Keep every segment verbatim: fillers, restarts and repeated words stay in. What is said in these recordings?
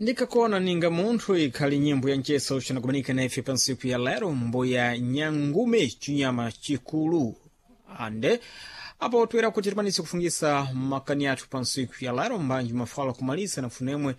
Ndikakona ninga munthu ikhali nyimbo ya mcheso ucanakumanika na ife pa ntsiku ya lero, mboya Nyangume, chinyama chikulu. Ande apo toera kuti tikwanise kufungisa makani athu pa ntsiku ya lero, mbanji mafala kumalisa na funemwe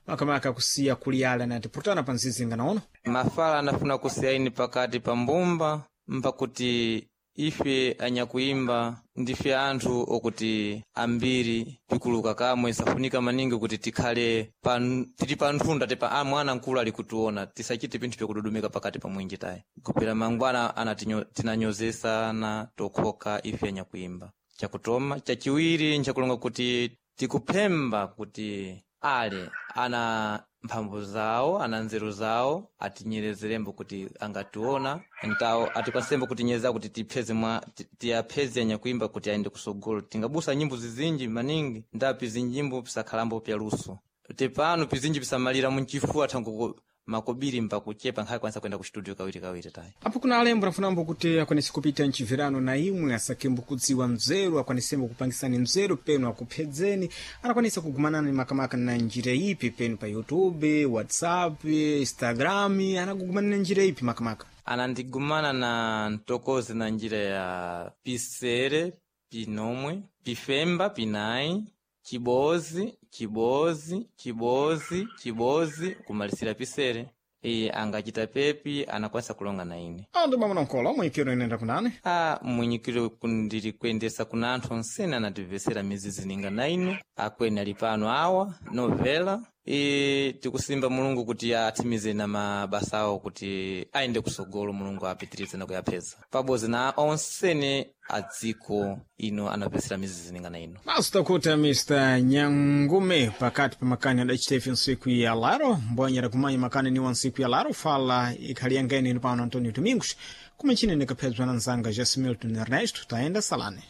makamaka kusiya kuliyala na tiputana pa nzizi nganaona. Mafala anafuna kusiya pakati pa mbumba mpakuti ife anyakuimba ndife anthu okuti ambiri pikuluka kamwe safunika maningi kuti tikhale pa, tili pa nthunda tepa a mwana mkulu ali kutiona, tisachite pinthu pyakududumika pakati pa mwinji tayi kupera mangwana anatinyo- tinanyozesana tokhoka ife anyakuimba. Chakutoma chachiwiri nchakulonga kuti tikuphemba kuti ale ana mphamvu zawo, ana nzeru zawo, atinyerezerembo kuti angationa ntawo atikwasembo kutinyereza kuti tipheze mwa ti- tiyapheze anyakuimba kuti ayende kusogolo. Tingabusa nyimbo zizinji maningi ndapi zinjimbo pisakhalambo pya luso tepano pizinji pisamalira munchifuwa thango makobiri mpakuchepa nkhale kwanisa kuyenda ku studio kawiri kawiri tayi. Apo kuna alembo nafunambo kuti akwanise kupita mchivirano na imwe asakembo kudziwa mzeru, akwanisembo kupangisani mzeru penu akuphedzeni, anakwanisa kugumanani makamaka na njira ipi penu pa YouTube, WhatsApp, Instagram, anakugumanani na njira ipi makamaka? Anandigumana na ntokozi na njira ya pisere, pinomwe, pifemba, pinayi, chibozi, chibozi, chibozi, chibozi, kumalisira pisere. Iye angachita pepi anakwanisa kulonga na ine. Ando bamuna nkola mwikiro inenda kunani? A mwinyikiro ndili kuyendesa kuna anthu onsene anatimvesera mizizi ninga na ine, akweni ali pano awa novela e tikusimba Mulungu kuti athimize na mabasa awo kuti ayende kusogolo, Mulungu apitirize na kuyapheza pabodzi na onsene a dziko ino anapesera mizizi ninga na ino. Basi takuta Mister Nyangume pakati pa makani adacita ife ntsiku ya laro, mbwanyera kumanya makani niwa ntsiku ya laro fala ikhali yangeni ino pano Antonio Domingos, kumachine nikaphedzwa na nzanga Jesse Milton Ernesto, taenda salane.